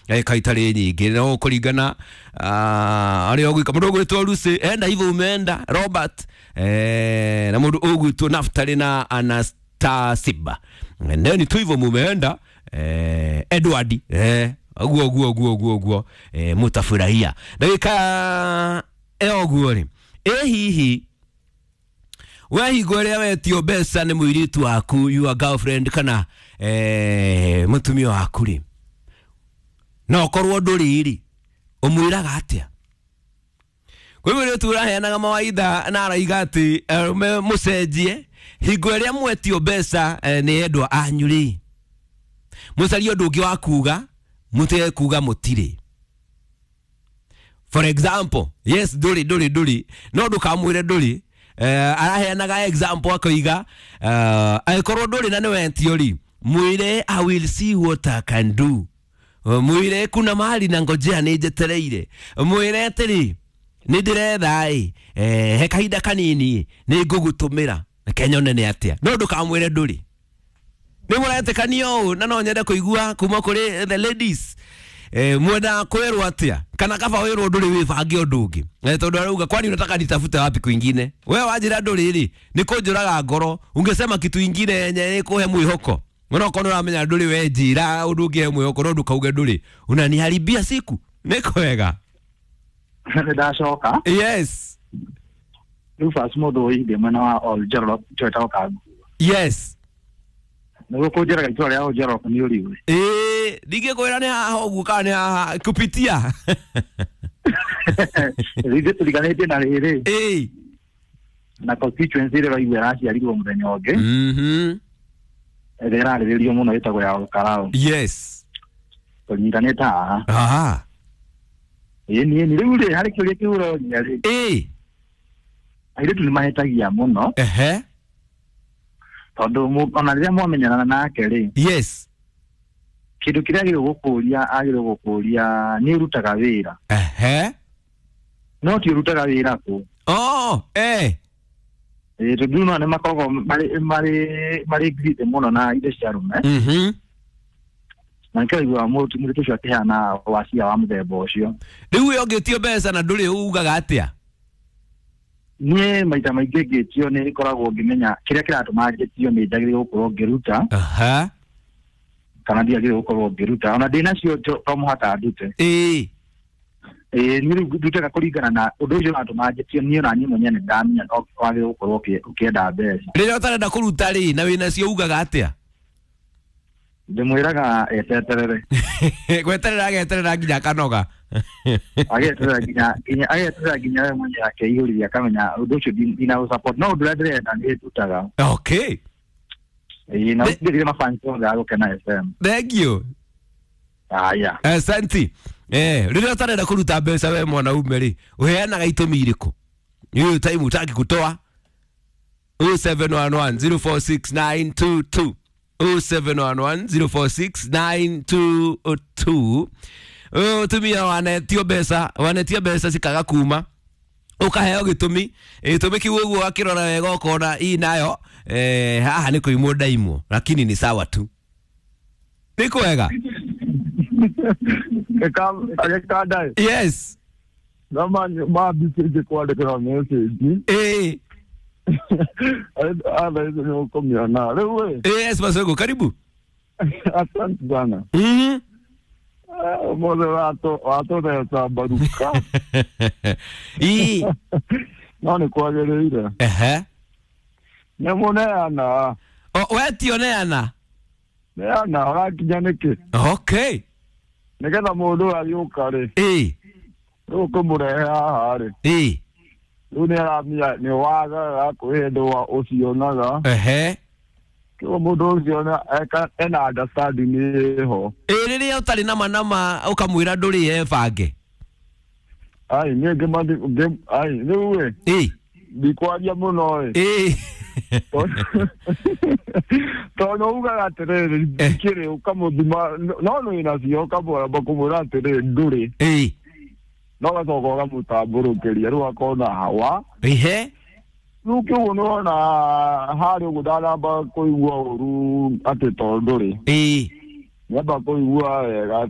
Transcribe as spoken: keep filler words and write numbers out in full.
Ndagĩka itarĩ nyingĩ no kũringana arĩa ũgwĩka mũndũ ũgwĩtwo Lucy enda hivyo umeenda Robert eh, na mũndũ ũgwĩtwo Naftali na Anastasiba neni tu hivyo mumeenda eh, Edward eh, uguo uguo uguo uguo uguo eh, mutafurahia ndagĩka ĩyo ũguo rĩ ĩ hihi we hingo ĩrĩa wetio mbeca nĩ mũirĩtu waku, your girlfriend, kana eh, mũtumia waku rĩ, no korwo ndũrĩ rĩ, ũmwĩraga atĩa? Kwĩ mũirĩtu ũraheanaga mawaitha na araiga atĩ arũme mũcenjie hingo ĩrĩa mwetio mbeca eh, nĩ endwa anyu rĩ, mũcarie ũndũ ũngĩ wa kuga, mũtige kuga mũtirĩ. For example, yes, ndũrĩ ndũrĩ ndũrĩ, no ndũkamwĩre ndũrĩ. Eh, araheanaga example akoiga uh, angĩkorwo ndũrĩ na nĩwetio rĩ, mwĩre I will see what I can do, mwĩre kuna mahali na ngojea nĩ njetereire, mwĩre atĩrĩ nĩ ndĩretha ĩ eh, he kahinda kanini nĩ ngũgũtũmĩra reke nyone nĩ atĩa, no ndũkamwĩre ndũrĩ. Nĩ mũretĩkania ũũ? Na no nyende kũigua kuma kũrĩ the ladies eh, mwenda kwĩrwo atĩa, kana kaba wĩrwo ndũrĩ wĩbange ũndũ ũngĩ eh, tondũ arauga kwani unataka nitafute wapi kwingine? We wanjĩra ndũrĩ rĩ, nĩ kũnjũraga ngoro, ungesema kitu ingine yenye ĩkũhe mwĩhoko. Ona okorwo ũramenya ndũrĩ, we njĩra ũndũ ũngĩhe mwĩhoko, no ndũkauge ndũrĩ, unaniharibia siku. Nĩ kwega. Nĩ ndacoka. Yes. Rufus mũndũ ũithie mwena wa Oljorok twetagwo Kangu. Yes. Nĩguo kũnjĩraga itũra rĩa Oljorok nĩ ũriũĩ. Ĩĩ, ndingĩkwĩra nĩ haha ũguo kana nĩ haha kupitia. Ithuĩ tũriganĩtie na rĩrĩ Ĩĩ. na constituency ĩrĩa ũraigua ĩraciarirwo mũthenya ũngĩ Mhm. ĩrĩa ĩrarĩrĩrio mũno ĩtagwo ya Olkarau. Yes. Tũnyitanĩte haha. Aha. Ĩĩ niĩ nĩ rĩu rĩ harĩ kĩũria kĩu ũroria rĩ, Ĩĩ. airĩtu nĩ mahĩtagia mũno Ehe. tondũ mũ- ona rĩrĩa mwamenyana nake rĩ, Yes. kĩndũ kĩrĩa agĩrĩirwo gũkũria agĩrĩirwo gũkũria nĩ ũrutaga wĩra, Ehe. no ti ũrutaga wĩra kũ. Oh, eh. Ĩĩ, tondũ no nĩ makoragwo marĩ marĩ marĩ greedy mũno na indo cia arũme, Mhm. na nĩkĩo ũiguaga mũndũ mũirĩtu ũcio akĩheana wacia wa mũthemba ũcio. Rĩu we ũngĩtio mbeca na ndũrĩ ugaga atĩa? Niĩ maita maingĩ ngĩtio nĩ ngoragwo ngĩmenya kĩrĩa kĩratũma ngĩtio nĩ njagĩrĩirwo gũkorwo ngĩruta Aha. kana ndiagĩrĩirwo gũkorwo ngĩruta, ona ndĩnacio to to mũhaka ndute. Ĩĩ. Ĩĩ, niĩ rĩu ndutaga kũringana na ũndũ ũcio ũratũma njĩtio, niĩ ona niĩ mwenyewe nĩ ndamenya no wagĩrĩirwo gũkorwo ũkĩ- ũkĩenda mbeca. Rĩrĩa ũtarenda kũruta rĩ na wĩnacio ugaga atĩa? Ndĩmwĩraga eteterere. Gweterera ageterera nginya akanoga. Ageterera nginya nginya ageterera nginya we mwenyewe akeihũrithia akamenya ũndũ ũcio ndina support, no ũndũ ũrĩa ndĩrenda nĩ ndutaga. Okay. Ĩĩ, na The- ũngĩthire mafans othe a Gũkena F M. Thank you. Aya. Asante. Eh, rĩrĩa ũtarenda kũruta mbeca we mwanaume rĩ, ũheanaga itũmi irĩkũ? Hiyo time utaki kutoa. oh seven one one zero four six nine two two. oh seven one one zero four six nine two two. Tumia wanetio mbeca, wanetio mbeca cikaga kuma, ukaheo gĩtũmi, gĩtũmi kĩu ũguo akĩrora wega ũkona ii nayo eh, haha nĩ kũimwo ndaimwo, lakini ni sawa tu. Nĩ kwega. Agĩkanda. Yes. No mambicĩtie kwandĩkĩra message. Ĩĩ. Atha icio nĩ ũkũmĩona rĩu ĩ. Yes, Masogo, karibu. Asante sana. Mhm. Ũmũthĩ watũtheca mbaruka. Ĩĩ. No nĩ kwagĩrĩire. Ehe. Nĩ mũneana. O, we ti ũneana? Neana ũrakinya nĩkĩ? Okay. Nĩgetha mũndũ ũyũ agĩũka rĩ, Ĩĩ. rĩu ũkũmũrehe haha rĩ, Ĩĩ. rĩu nĩ aramenya nĩ wagaga kwĩ hĩndĩ ũcionaga. Ehe. Kĩguo mũndũ ũcio ena understanding ĩho. Ĩĩ, rĩrĩa ũtarĩ nama nama ũkamwĩra ndũrĩ ebange. Ai, niĩ ngĩmathi ai rĩu ĩ, Ĩĩ. ndikwaria mũno ĩ. Ĩĩ. Tondũ ugaga atĩrĩrĩ, ndikĩrĩ ũkamũthima no nĩ nacio ũkamwamba kũmwĩra atĩrĩrĩ ndũrĩ. Ĩĩ. No ũgacoka ũkamũtambũrũkĩria rĩu akona hawa. Ihe. Rĩu kĩguo nĩwona harĩa ũguo ndanamba kũigua ũru atĩ tondũ ndũrĩ. Ĩĩ. Nĩamba kũigua wega.